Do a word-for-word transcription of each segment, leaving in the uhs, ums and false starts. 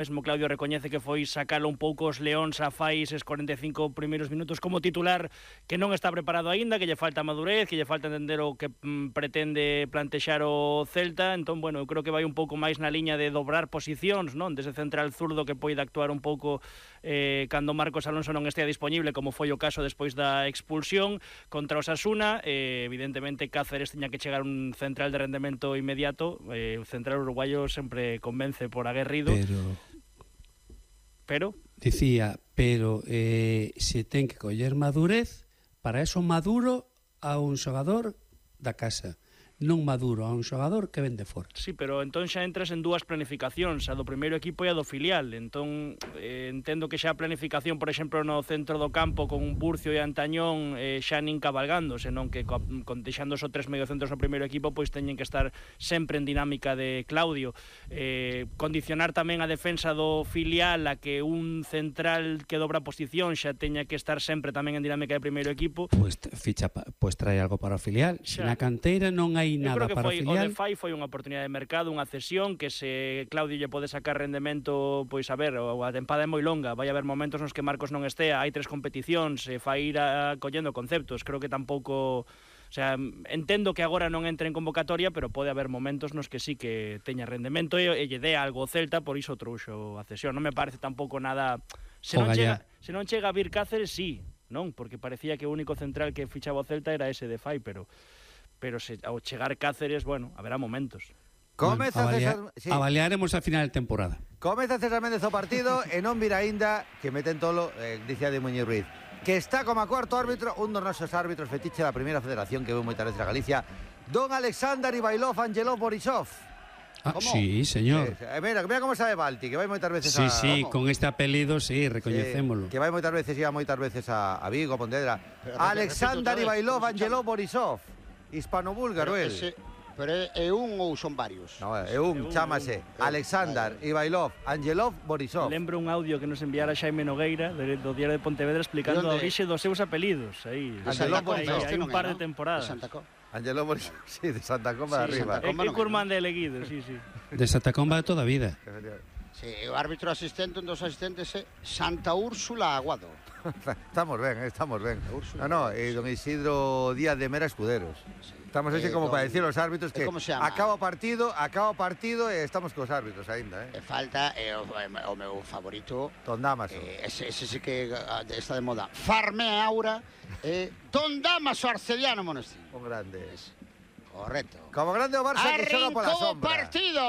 Mesmo Claudio recoñece que foi sacalo un pouco os leóns a fai eses cuarenta e cinco primeiros minutos como titular, que non está preparado aínda, que lle falta madurez, que lle falta entender o que mm, pretende plantexar o Celta. Entón, bueno, eu creo que vai un pouco máis na liña de dobrar posicións, non? Desde central zurdo que poida actuar un pouco eh, cando Marcos Alonso non estea disponible, como foi o caso despois da expulsión contra o Osasuna. Eh, evidentemente Cáceres tiña que chegar un central de rendemento inmediato. Eh, o central uruguayo sempre convence por aguerrido. Pero... Pero... Dicía, pero eh, se ten que coller madurez, para eso maduro a un xogador da casa, non maduro a un xogador que vende fora. Sí, pero entón xa entras en dúas planificacións, a do primeiro equipo e a do filial. Entón, eh, entendo que xa a planificación, por exemplo, no centro do campo con un Burcio e Antañón eh, xa nin cabalgando, senón que con deixando só tres mediocentros no primeiro equipo, pois teñen que estar sempre en dinámica de Claudio. Eh, condicionar tamén a defensa do filial a que un central que dobra posición xa teña que estar sempre tamén en dinámica de primeiro equipo. Pois ficha, pois trae algo para o filial. Se na canteira non hai nada para o filial. O de Fai foi unha oportunidade de mercado, unha cesión que se Claudio lle pode sacar rendemento, pois a ver, a tempada é moi longa, vai haber momentos nos que Marcos non estea, hai tres competicións, e Fai ir a, collendo conceptos. Creo que tampouco, o sea, entendo que agora non entre en convocatoria, pero pode haber momentos nos que sí que teña rendemento e, e lle dé algo o Celta, por iso trouxo a cesión. Non me parece tampouco nada, se non chega, se non chega a vir Cáceres, sí, non, porque parecía que o único central que fichaba o Celta era ese de Fai, pero pero se, ao chegar Cáceres, bueno, haberá momentos. Comeza bueno, avalia, César... Sí. Avaliaremos a final de temporada. Comeza César Méndez o partido e non vira aínda que meten tolo, eh, dice de Muñiz Ruiz, que está como a cuarto árbitro, un dos nosos árbitros fetiche da primeira federación que veu moitas veces a Galicia, don Alexander Ivailov Angelov Borisov. Ah, sí, señor. Sí, sí. Mira, mira como sabe Balti, que vai moitas veces sí, a... Sí, sí, con este apelido, sí, Sí, recoñecémolo. que vai moitas veces, iba moitas veces a, a Vigo, a Pontevedra. Alexander Ivailov Angelov Borisov. Hispano-búlgaro, el. Ese, pero é un ou son varios? No, é un, chámase Alexander Ivailov Angelov Borisov. Lembro un audio que nos enviara Xaime Nogueira do Diario de Pontevedra explicando a orixe dos seus apelidos. Aí, Angelov Borisov. Hai un par de temporadas. Angelov Borisov, sí, de Santa Comba de arriba. É que Curman de Leguido, sí, sí. De Santa Comba de toda a vida. Sí, o árbitro asistente, un dos asistentes é Santa Úrsula Aguado. Estamos ben, estamos ben. No, no, e don Isidro Díaz de Mera Escuderos. Estamos así eh, como don, para decir aos árbitros que acaba o partido, acaba o partido e estamos cos árbitros aínda, eh. E falta eh, o, o meu favorito, Don Damaso. Eh, ese, ese sí que está de moda. Farme Aura, eh, Don Damaso Arcediano Monestín. Un grande. Es. Correcto. Como grande o Barça que xoga pola sombra. Partido,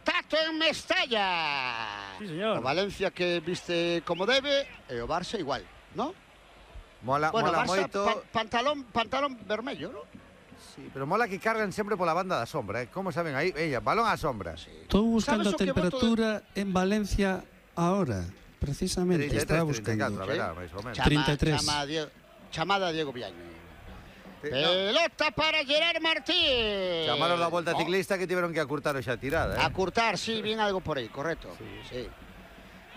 Tato en Mestalla. Sí, señor. O Valencia que viste como debe e o Barça igual, ¿no? Mola, bueno, mola Barça, moito. Pa pantalón, pantalón vermello, ¿no? Sí, pero mola que cargan sempre pola banda da sombra, eh? Como saben aí? Ella, balón á sombra. Sí. Estou buscando a temperatura de... en Valencia ahora, precisamente. treinta e tres, estaba buscando. treinta e catro, verá, máis ou menos. Chama, treinta e tres. Chama Diego, chamada Diego Villaño. Sí, Pelota no. para Gerard Martín. Chamaron da volta oh. ciclista que tiveron que acurtar xa tirada, eh? Acurtar, sí, bien algo por aí, correcto. Sí. Sí.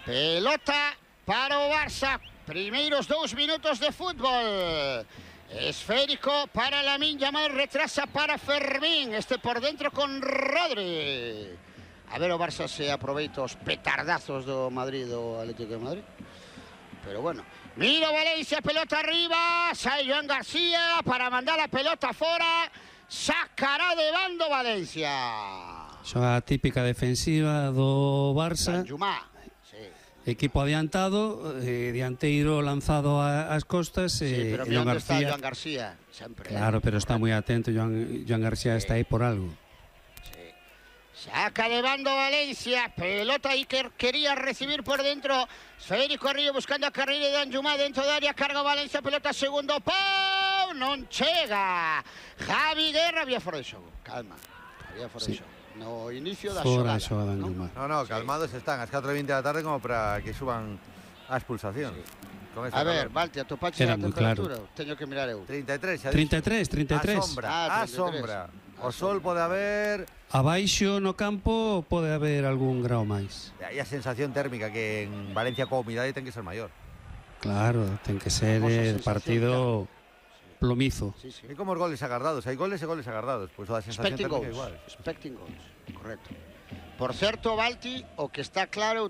Pelota para o Barça. Primeiros dous minutos de fútbol. Esférico para Lamine Yamal, retrasa para Fermín. Este por dentro con Rodri. A ver o Barça se aproveita os petardazos do Madrid, do Atlético de Madrid. Pero bueno. Mira Valencia, pelota arriba, sai Joan García para mandar la pelota fora, sacará de bando Valencia. Xoga típica defensiva do Barça. Danjumá, sí. Equipo adiantado, eh, dianteiro lanzado ás costas. Sí, eh, pero Joan onde García. está Joan García, sempre. Claro, pero está moi atento, Joan, Joan García sí. Está aí por algo. Saca de bando Valencia, pelota Iker quería recibir por dentro, Federico Río buscando a carreira de Danjumá dentro da área, carga Valencia, pelota segundo pau, non chega, Javi Guerra, había fora de xogo, calma, había fora sí. de xogo, no inicio da fora xogada, ¿no? no, no, calmados sí. Están, ás catro e vinte da tarde como para que suban a expulsación. Sí. A ver, Valti, a tu pache a temperatura, claro. Teño que mirar eu. treinta e tres, treinta e tres, treinta e tres. A sombra, ah, a sombra. O sol pode haber... Abaixo no campo pode haber algún grau máis. E a sensación térmica que en Valencia coa humidade ten que ser maior. Claro, ten que ser el partido sí. plomizo. Sí, sí. E como os goles agardados, hai goles e goles agardados, pois pues, a sensación Expecting térmica goals. igual. Expecting goals, correcto. Por certo, Balti, o que está claro